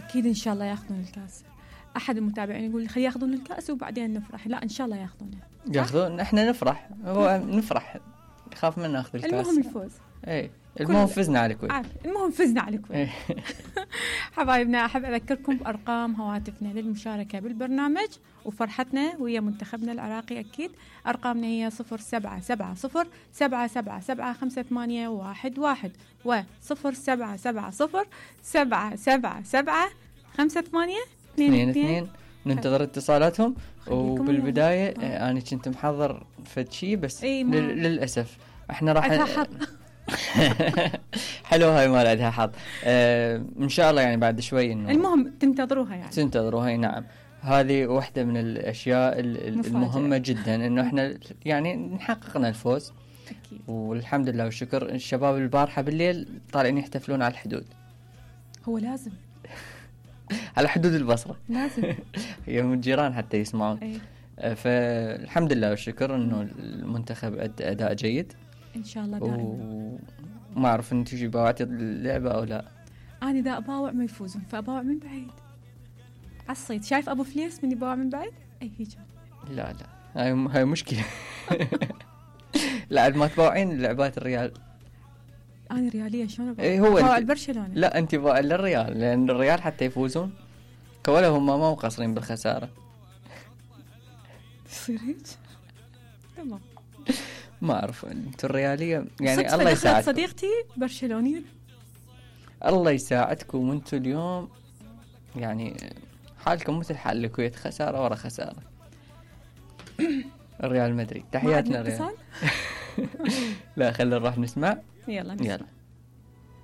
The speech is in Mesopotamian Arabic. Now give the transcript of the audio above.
اكيد ان شاء الله ياخذون الكاس. احد المتابعين يقول خلي ياخذون الكاس وبعدين نفرح. لا ان شاء الله ياخذونه. ياخذون، احنا نفرح، هو نفرح، نخاف من ناخذ الكاس. المهم الفوز. اي المهم فزنا على الكويت. المهم فزنا على الكويت. حبايبنا، احب اذكركم بارقام هواتفنا للمشاركه بالبرنامج وفرحتنا ويا منتخبنا العراقي. اكيد ارقامنا هي 0770 777 و 0770 777 5822. ننتظر اتصالاتهم. وبالبدايه انا كنت محضر فد شيء بس للاسف احنا راح حلو هاي ما لها حظ. ان شاء الله يعني بعد شوي انه المهم تنتظروها يعني تنتظروها. نعم، هذه واحدة من الاشياء المهمة جدا انه احنا يعني نحققنا الفوز أكيد. والحمد لله والشكر. الشباب البارحة بالليل طالعين يحتفلون على الحدود. هو لازم على حدود البصرة لازم يوم الجيران حتى يسمعون. أي. فالحمد لله والشكر انه المنتخب ادى اداء جيد ان شاء الله دائما. وما اعرف انت تجي باوعتي اللعبة او لا. انا اذا اباوع ما يفوزون فاباوع من بعيد عالصيد. شايف ابو فليس من يباوع من بعيد؟ اي هيك. لا هاي مشكلة. لا ما تباوعين اللعبات الريال. انا ريالية شلون اباوع برشلونة؟ لا انت باوع للريال لان الريال حتى يفوزون كولا هم ما مقصرين بالخسارة. يصير هيك؟ تمام. ما اعرف انتوا الريالية يعني الله يساعدكم. صديقتي برشلونية. الله يساعدكم وانتوا اليوم يعني حالكم مثل حال الكويت، خسارة ورا خسارة. الريال مدريد. تحياتنا الريال. اتصال؟ لا خلينا نروح نسمع. يلا.